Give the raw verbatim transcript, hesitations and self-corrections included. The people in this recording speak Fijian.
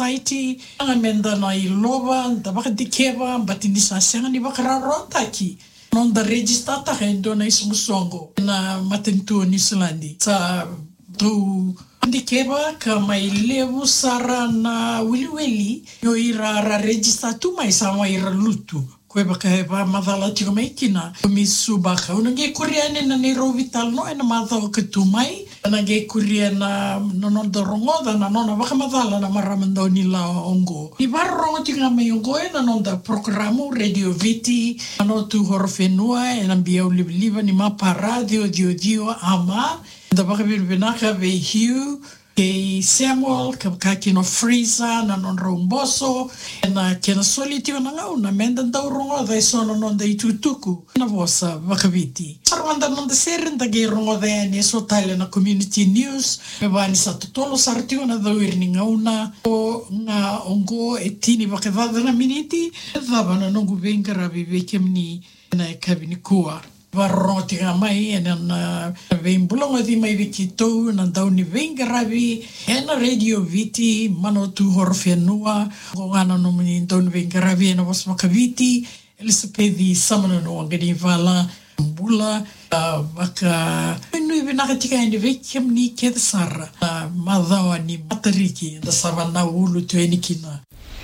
society, ga me da na ilova, da vakadikeva, baleta ni sa sega ni vakarawarawataki noda register-taka e dua na isoqosoqo ena matanitu o Niusiladi. Sa tou dikeva ka mai levu sara na wiliwili, o ira ra register tu mai sa mai ra lutu. Ko e vaka e vakamacala tiko mai kina o Miss Subaka. Au na qai kuria yani na neirau veitalanoa ena macawa ka tu mai. Na qai kuria na, na noda rogoca na nona vakamacala na marama daunilawa oqo. Ni vakarorogo tiko ga mai oqo ena noda porokaramu Radio Viti, Manawatu Horowhenua, ena biau livaliva ni Mapara, ciwa ciwa ciwa AM. Da vakavinavinaka vei Hugh kei Samuel, ka vaka kina o Fraser na nodrau boso, ena kena soli tiko na gauna me da dau rogoca eso na noda itukutuku ena vosa vakaViti. Sara mada na noda sere, da qai rogoca yani eso tale na community news, me vaka ni sa totolo sara tiko na cowiri ni gauna, o ga oqo e tini vakacaca na miniti. E cava na noqu veiqaravi vei kemuni ena yakavi nikua? Vakarorogo tiko ga mai ena, na veibulagoci mai vei keitou na dauniveiqaravi ena Radio Viti, Manawatu Horowhenua. Oqo ga na nomuni dauniveiqaravi ena vosa vakaViti, Elisapeci Samanunu Waqanivala. Bula, a, vakanuinui vinaka tiko yani vei kemuni kece sara. A, macawa ni Matariki, da sa vanaulu tu yani kina.